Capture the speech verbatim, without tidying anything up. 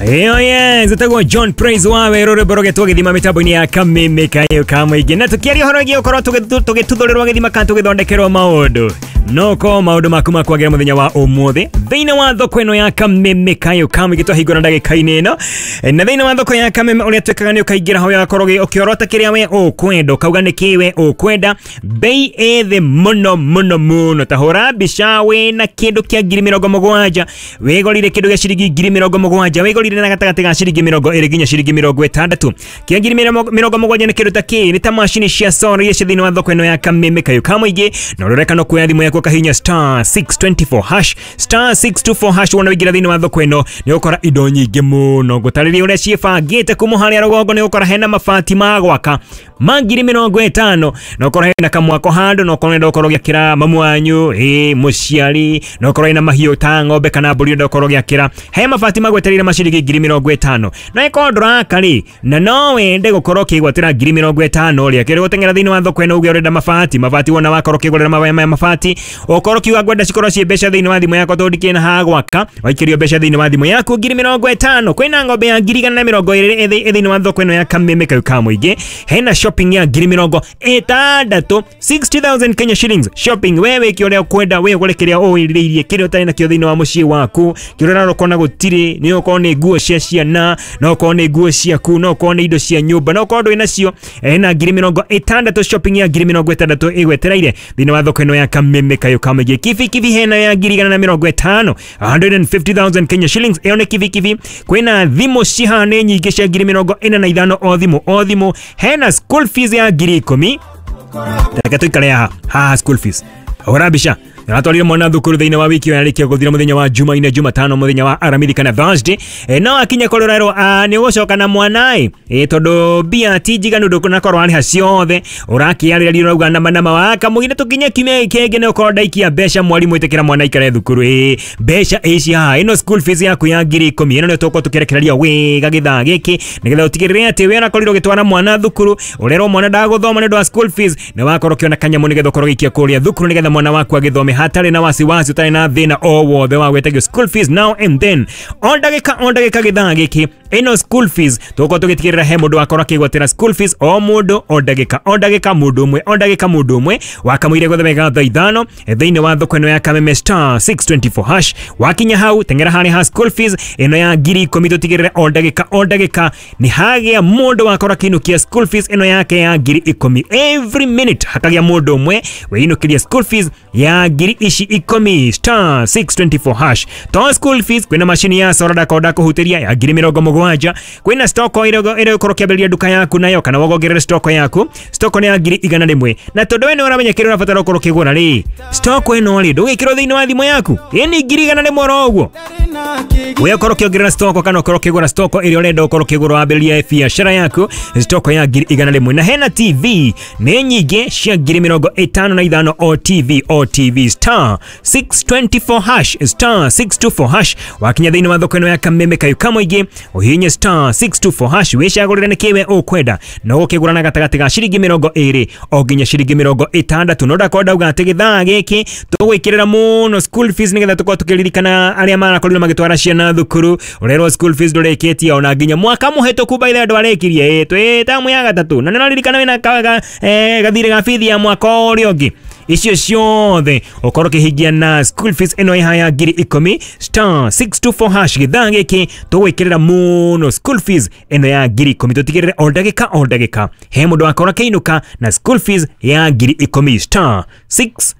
Ĩyo yes, ĩtagwo John Praise wa werũ, rwĩmbo rũgetwo gĩthima mĩtambo-inĩ ya Kameme Kayo ka mũingĩ. Na tũkĩaria ũhoro wĩgiĩ gũkorwo tũgĩtuthũrĩrwo gĩthima kana tũgĩthondekerwo maũndũ, no ko maũndũ maku makwagĩra mũthenya wa ũmũthĩ thĩinĩ wa thoko ĩno ya Kameme Kayo ka mũingĩ twahingũra ndagĩka-inĩ ĩno. Na thĩinĩ wa thoko ya Kameme ũrĩa twĩkaga nĩ ũkaingĩra ho ũgakorwo ũkĩorota kĩrĩa we ũkwenda, ũkauga nĩ kĩ we ũkwenda, bei ĩ thĩ mũno mũno mũno. Ta hũra mbica wĩna kĩndũ kĩa ngiri mĩrongo mũgwanja, wĩgũrire kĩndũ gĩa ciringi ngiri mĩrongo mũgwanja, wĩgũrire na gatagatĩ ga ciringi mĩrongo ĩrĩ nginya ciringi mĩrongo ĩtandatũ. Kĩa ngiri mĩrongo mũgwanja nĩ kĩndũ ta kĩ? Nĩ ta macini cia solar iria ciĩ thĩinĩ wa thoko ĩno ya Kameme Kayo ka mũingĩ. Na ũroreka no kuoya thimũ yaku ũkahihinya star six two four hash, star six two four hash, wona waingĩra thĩinĩ wa thoko ĩno nĩ ũgũkora indo nyingĩ mũno. Ngũtarĩria ũrĩa ciĩbangĩte kuma harĩa rũgongo nĩ ũgũkora hena mabati ma gwaka ma ngiri mĩrongo ĩtano, na ũkorwo hena kamwako handũ, na ũkorwo ũrenda ũkorwo ũgĩakĩra mamu wanyu, ĩ mũciari, na ũkorwo hena mahiũ ta ng'ombe kana mbũri ũrenda ũkorwo ũgĩakĩra, he mabati magwetereire ma ciringi ngiri mĩrongo ĩtano. Na ĩkorwo ndũraka rĩ, na no wende gũkorwo ũkĩgwatĩra ngiri mĩrongo ĩtano rĩ, akĩrĩ gũteng'era thĩinĩ wa thoko ĩno uge ũrenda mabati, mabati wona wakorwo ũkĩgũrĩra mabaya maya mabati, ũkorwo ũkiuga ngwenda cikorwo ciĩ mbeca thĩinĩ wa thimũ yakwa tondũ ndikĩrĩ na ha gwaka, waikĩrio mbeca thĩinĩ wa thimũ yaku ngiri mĩrongo ĩtano. Kwĩna ng'ombe ya ngiri igana na mĩrongo ĩrĩ ĩ thĩinĩ wa thoko ĩno ya Kameme Kayo ka mũingĩ. Hena shopping ya ngiri mĩrongo ĩtandatũ, sixty thousand Kenya shillings shopping. We wĩke ũrĩa ũkwenda, we ũgũre kĩrĩa ũwĩrirĩirie, kĩrĩa ũtarĩ nakĩo thĩinĩ wa mũciĩ waku, kĩrĩa ũrarora ũkona gũtirĩ, nĩ ũkorwo nĩ nguo cia ciana, no ũkorwo nĩ nguo ciaku, no ũkorwo nĩ indo cia nyũmba, no ũkorwo ndũrĩ nacio. Hena ngiri mĩrongo ĩtandatũ shopping ya ngiri mĩrongo ĩtandatũ ĩgwetereire thĩinĩ wa thoko ĩno ya Kameme Kayo ka mũingĩ. Kibikibi hena ya ngiri igana na mĩrongo ĩtano, a hundred and fifty thousand Kenya shillings, ĩyo nĩ kibikibi. Kwĩna thimũ cihana nyingĩ cia ngiri mĩrongo ĩna na ithano o thimũ o thimũ. Hena school fees ya ngiri ikũmi. Reke tũikare haha haha school fees. Hũra mbica aratwarire mwana thukuru thĩinĩ wa wiki ĩyo yarĩkia gũthira mũthenya wa Jumaine, Jumatano, mũthenya wa Aramithi kana Thursday. E, no akinya kũrĩa ũrerwo nĩ ũgũcoka na mwana ĩ, e, tondũ mbia ti njiganu ndũnakorwo warĩha ciothe, ũrakĩarĩria ũrauga nama nama wa kamũgire tũkinye kiumia gĩkĩ kĩngĩ nĩ ũkorwo ndaikia mbeca, mwarimũ ĩtĩkĩra mwana aikare thukuru. Ĩ mbeca ici haha, ĩno school fees yaku ya ngiri ikũmi, ĩno nĩyo tũgũkorwo tũkĩrekereria wega gĩthaa gĩkĩ nĩgetha ũtigĩrĩre atĩ we ũrakorirwo ũgĩtwara mwana thukuru, ũrerwo mwana ndagũthoma nĩ ũndũ wa school fees, nĩ wakorwo ũkĩona kanyamũ nĩgetha ũkorwo ũgĩikia kũrĩa thukuru nĩgetha mwana waku agĩthome hatarĩ na wasiwasi, ũtarĩ na thĩna o wothe wa gwĩtagio school fees now and then. O ndagĩka o ndagĩka gĩthaa gĩkĩ ĩno school fees tũgũkorwo tũgĩtigĩrĩra he mũndũ wakorwo akĩgwatĩra school fees, o mũndũ o ndagĩka o ndagĩka, mũndũ ũmwe o ndagĩka, mũndũ ũmwe wakamũire gwetha wega thaa ithano thĩinĩ wa thoko ĩno ya Kameme star six twenty four hash. Wakinya hau teng'era harĩa ha school fees ĩno ya ngiri ikũmi, tũtigĩrĩre o ndagĩka o ndagĩka nĩ hagĩa mũndũ wakorwo akĩinũkia school fees ĩno yake ya ngiri ikũmi. Every minute hakagĩa mũndũ ũmwe wĩinũkĩria school fees ya ngiri ici ikũmi, star six twenty four hash. To school fees kwĩna macini ya solar ndakorwo ndakũhutĩria ya ngiri mĩrongo mũgwanja, kwĩna stock ĩrĩa ĩrĩa ũkorwo ũkĩambĩrĩria nduka yaku nayo kana wongerere stock yaku, stock nĩ ya ngiri igana rĩmwe. Na tondũ we nĩ ũramenya kĩrĩa ũrabatara ũkorwo ũkĩgũra rĩ, stock ĩno rĩ ndũgĩkĩrwo thĩinĩ wa thimũ yaku, ĩ nĩ ngiri igana rĩmwe oro ũguo. We ũkorwo ũkĩongerera stock kana ũkorwo ũkĩgũra stock ĩrĩa ũrenda ũkorwo ũkĩgũra wambĩrĩrie biacara yaku, stock ya ngiri igana rĩmwe. Na hena T V nĩ nyingĩ cia ngiri mĩrongo ĩtano na ithano o T V o T V, star six twenty four hash, star six two four hash. Wakinya thĩinĩ wa thoko ĩno ya Kameme Kayo ka mũingĩ ũhihinye star six two four hash wĩcagũrĩre nĩ kĩwe ũkwenda, na ũgũkĩgũra na gatagatĩ ga ciringi mĩrongo ĩrĩ o nginya ciringi mĩrongo ĩtandatũ. No ndakorwo ndauga atĩ gĩthaa gĩkĩ tũgwĩkĩrĩra mũno school fees nĩgetha tũkorwo tũkĩririkana arĩa marakorirwo magĩtwara ciana thukuru, ũrerwo school fees ndũrĩkĩtie ona nginya mwaka mũhĩtũku by the way ndwarĩkirie, ĩ twĩ tamu ya gatatũ, na nĩũraririkana wĩna gathirĩ ga bithi ya mwaka ũrĩa ũngĩ. Icio ciothe ũkorwo ũkĩhingia na school fees ĩno ĩha ya ngiri ikũmi, star six two four hash. Gĩthaa gĩkĩ tũgwĩkĩrĩra mũno school fees ĩno ya ngiri ikũmi, tũtigĩrĩre o ndagĩka o ndagĩka he mũndũ wakorwo akĩinũka na school fees ya ngiri ikũmi, star six